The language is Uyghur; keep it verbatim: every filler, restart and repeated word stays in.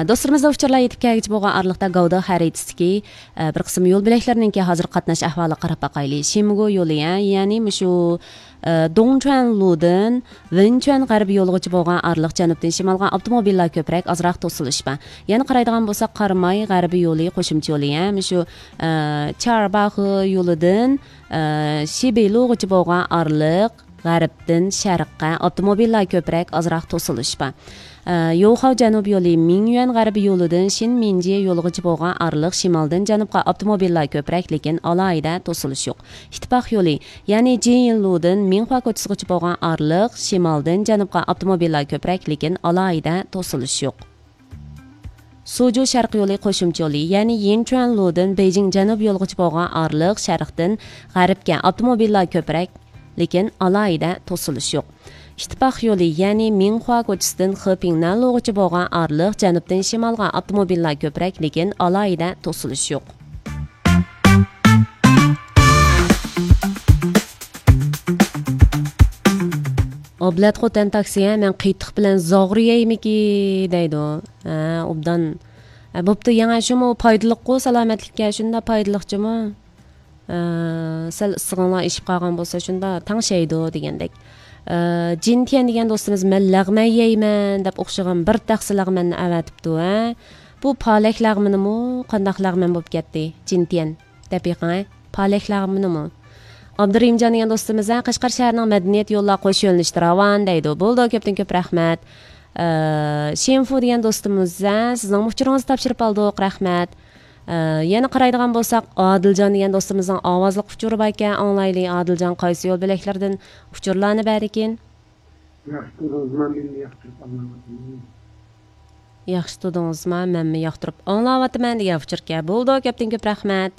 دوستلىرىمىزدا ئۇچۇرلار يېتىپ كەلگۈچە بولغان ئارىلىقتا گاۋدې خەرىتىسىدىكى، ئە، بىر قىسىم يول بۆلەكلىرىنىڭكى ھازىرقى قاتناش ئەھۋالىغا قاراپ باقايلى. شىمگو يولى، ھە، يەنى مۇشۇ، ئە، دۇڭچۈەن لۇدىن ۋېنچۈەن غەربىي يولىغىچە بولغان ئارىلىق جەنۇبتىن شىمالغا ئاپتوموبىللار كۆپرەك، ئازراق توسۇلۇش بار. يەنە قارايدىغان بولساق، قاراماي غەربىي يولى قوشۇمچە يولى، ھە، مۇشۇ، ئە، چارباخې يولىدىن، ئە، شىبېيلۇغىچە بولغان ئارىلىق غەربتىن شەرققە ئاپتوموبىللار كۆپرەك، ئازراق توسۇلۇش بار. ئە، يوخاۋ جەنۇب يولى مىڭيۈەن غەربىي يولىدىن شىنمىنجيې يولىغىچە بولغان ئارىلىق شىمالدىن جەنۇبقا ئاپتوموبىللار كۆپرەك، لېكىن ئالاھىدە توسۇلۇش يوق. ئىتتىپاق يولى، يەنى جىنيىنلۇدىن مىڭخۇا كوچىسىغىچە بولغان ئارىلىق شىمالدىن جەنۇبقا ئاپتوموبىللار كۆپرەك، لېكىن ئالاھىدە توسۇلۇش يوق. سۇجۇ شەرق يولى قوشۇمچە يولى، يەنى يىنچۈەنلۇدىن بېيجىڭ جەنۇب يولىغىچە بولغان ئارىلىق شەرقتىن غەربكە ئاپتوموبىللار كۆپرەك، لېكىن ئالاھىدە توسۇلۇش يوق. ئىتتىپاق يولى، يەنى مىڭخۇا كوچىسىدىن خېپىڭنەنلۇغىچە بولغان ئارىلىق جەنۇبتىن شىمالغا ئاپتوموبىللار كۆپرەك، لېكىن ئالاھىدە توسۇلۇش يوق. ئابلەت خوتەن تاكسى، ھە، مەن قېتىق بىلەن زاغرا يەيمىكى دەيدۇ. ھە، ئوبدان. ھە، بوپتۇ، يەڭە شۇمۇ پايدىلىققۇ سالامەتلىككە، شۇنداق پايدىلىقچىمۇ؟ ئە، سەل ئىسسىقىڭلار ئېشىپ قالغان بولسا، شۇنداق تەڭشەيدۇ دېگەندەك. ئە، جىنتيەن دېگەن دوستىمىز، «مەن لەغمەن يەيمەن» دەپ ئوخشىغان بىر تەخسە لەغمەننى ئەۋەتىپتۇ، ھە. بۇ پالەك لەغمىنىمۇ، قانداق لەغمەن بولۇپ كەتتى؟ جىنتيەن دەپ بېقىڭ، ھە. پالەك لەغمىنىمۇ. ئابدۇرېھىمجان دېگەن دوستىمىز، ھە، قەشقەر شەھىرىنىڭ مەدەنىيەت يوللار قوش يۆنىلىشتە راۋان دەيدۇ. بولىدۇ، كۆپتىن كۆپ رەھمەت. ئە، شىنفۇ دېگەن دوستىمىز، ھە، سىزنىڭ ئۇچۇرىڭىزنى تاپشۇرۇپ ئالدۇق، رەھمەت. ئە، يەنە قارايدىغان بولساق، ئادىلجان دېگەن دوستىمىزنىڭ ئاۋازلىق ئۇچۇرى باركەن، ئاڭلايلى. ئادىلجان قايسى يول بۆلەكلىرىدىن ئۇچۇرلارنى بەردىكىن؟ ياخشى تۇردىڭىزما، مەن ياقتۇرۇپ ئاڭلاۋاتىمەن. ياخشى تۇردىڭىزما، مەنمۇ ياقتۇرۇپ ئاڭلاۋاتىمەن دېگەن ئۇچۇركەن. بولىدۇ، كۆپتىن كۆپ رەھمەت.